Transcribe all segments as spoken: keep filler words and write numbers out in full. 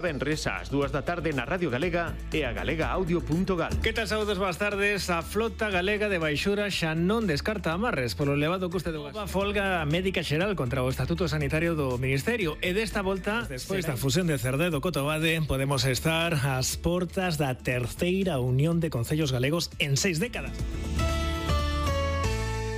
Venres ás dúas da tarde na Radio Galega e a galega audio punto gal. Que tal, saúdos, boas tardes. A flota galega de baixura xa non descarta amarres polo elevado custe do gas. A folga médica xeral contra o Estatuto Sanitario do Ministerio, e desta volta, despois da fusión de Cerdedo co Tobade, podemos estar ás portas da terceira unión de concellos galegos en seis décadas.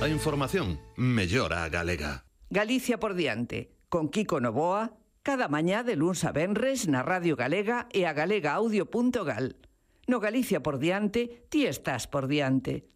A información mellora a galega. Galicia por diante, con Kiko Novoa, cada mañá de luns a venres na Radio Galega e a galega audio punto gal. No Galicia por diante, ti estás por diante.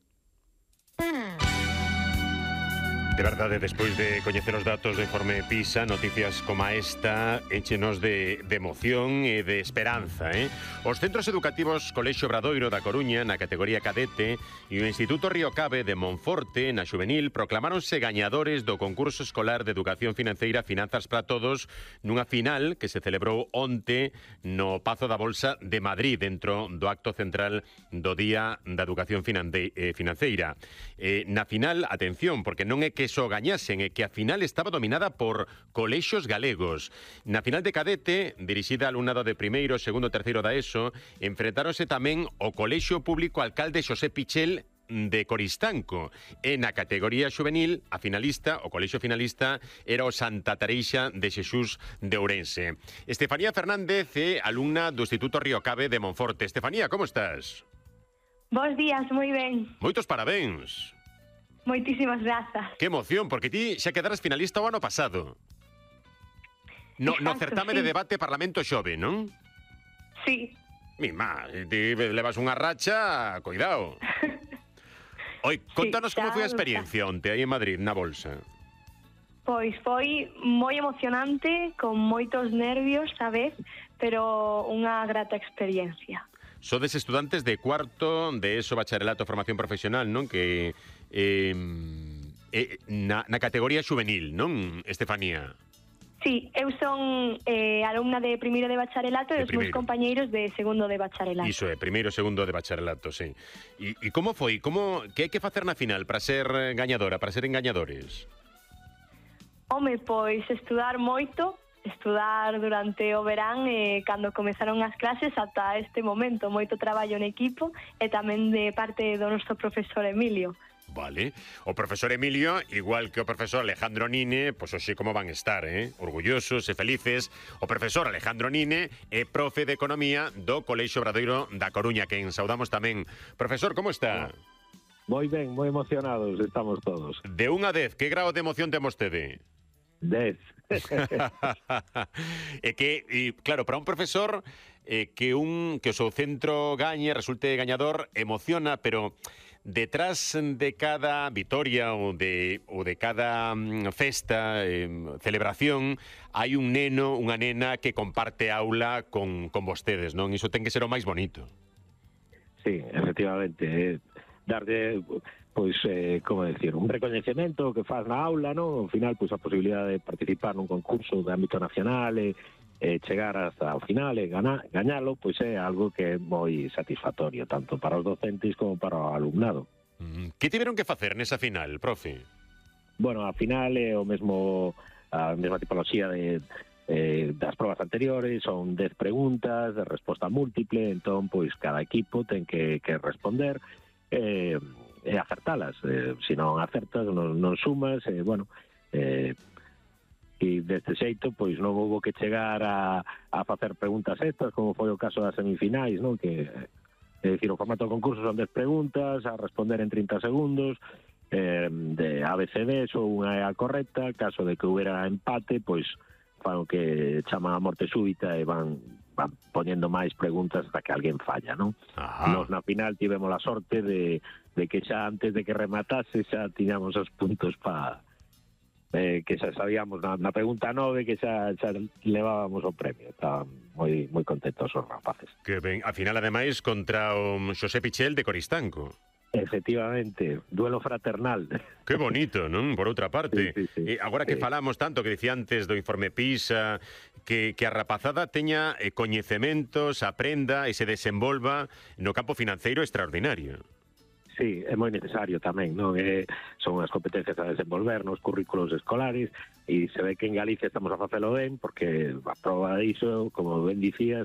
De verdade, despois de coñecer os datos do informe PISA, noticias como esta échenos de, de emoción e de esperanza, eh? Os centros educativos Colexio Obradoiro da Coruña na categoría cadete e o Instituto Río Cabe de Monforte na xuvenil proclamáronse gañadores do concurso escolar de educación financeira Finanzas para Todos nunha final que se celebrou onte no Pazo da Bolsa de Madrid, dentro do acto central do Día da Educación Financeira. Eh, na final, atención, porque non é que só gañasen, e que a final estaba dominada por colexios galegos. Na final de cadete, dirixida al alumnado de primeiro, segundo e terceiro da ESO, enfrentáronse tamén o Colexio Público Alcalde Xosé Pichel de Coristanco. E na categoría xuvenil, a finalista, o colexio finalista, era o Santa Tareixa de Xesús de Ourense. Estefanía Fernández é alumna do Instituto Río Cabe de Monforte. Estefanía, como estás? Bos días, moi ben. Moitos parabéns. Moitísimas grazas. Que emoción, porque ti xa quedaras finalista o ano pasado. No, Exacto, no certame sí. de debate Parlamento Xove, non? Sí. Mima, ti levas unha racha, cuidado. Oi, contanos sí, como foi a xa, experiencia onte aí en Madrid, na Bolsa. Pois foi moi emocionante, con moitos nervios, sabes, pero unha grata experiencia. Sodes estudantes de cuarto de ESO bacharelato formación profesional, non? Que eh, eh, na, na categoría xuvenil, non, Estefanía? Sí, eu son eh, alumna de primeiro de bacharelato e os meus compañeiros de segundo de bacharelato. Iso é, primeiro e segundo de bacharelato, sí. E, e como foi? Como, que hai que facer na final para ser gañadora, para ser engañadores? Home, pois estudar moito, estudar durante o verán e cando comezaron as clases ata este momento, moito traballo en equipo e tamén de parte do noso profesor Emilio. Vale. O profesor Emilio, igual que o profesor Alejandro Nine, pois hoxe como van estar, eh? Orgullosos e felices. O profesor Alejandro Nine é profe de Economía do Colexio Obradoiro da Coruña, que saudamos tamén. Profesor, como está? Moi ben, moi emocionados estamos todos. De un a dez, que grado de emoción ten vostede? Dez. É que, e, claro, para un profesor eh, que un que o seu centro gañe, resulte gañador, emociona, pero detrás de cada vitoria ou de, ou de cada mm, festa, eh, celebración, hai un neno, unha nena que comparte aula con, con vostedes, non? Iso ten que ser o máis bonito. Sí, efectivamente. Eh, darlle, pois, eh, como decir, un recoñecemento que faz na aula, non? Ao final, pois, a posibilidade de participar nun concurso de ámbito nacional e eh, chegar hasta o final e gana, gañalo, pois é algo que é moi satisfactorio, tanto para os docentes como para o alumnado. Mm, que tiveron que facer nesa final, profe? Bueno, a final é o mesmo, a mesma tipoloxía de, eh, das probas anteriores, son dez preguntas de resposta múltiple, entón, pois, cada equipo ten que, que responder eh, e acertalas. Eh, se non acertas, non, non sumas, e, eh, bueno... Eh, e deste xeito, pois non houve que chegar a, a facer preguntas extras, como foi o caso das semifinais, non? Que, é dicir, o formato do concurso son dez preguntas, a responder en trinta segundos, eh, de A B C D, só unha é a correcta, caso de que houbera empate, pois fan o que chaman a morte súbita e van, van poñendo máis preguntas hasta que alguén falla, non? Ajá. Nos na final tivemos a sorte de, de que xa antes de que rematase xa tiñamos os puntos para... Eh, que xa sabíamos na, na pregunta nove que xa, xa levábamos o premio. Estaban moi moi contentos os rapaces. Que ben, a final ademais contra o Xosé Pichel de Coristanco. Efectivamente, duelo fraternal. Que bonito, non? Por outra parte. Sí, sí, sí. Eh, agora que Sí. falamos tanto, que dicía antes do informe PISA, que, que a rapazada teña eh, coñecementos, aprenda e se desenvolva no campo financeiro extraordinario. Sí, é moi necesario tamén, non? É, son as competencias a desenvolver nos currículos escolares e se ve que en Galicia estamos a facelo ben porque a proba diso, como ben dicías,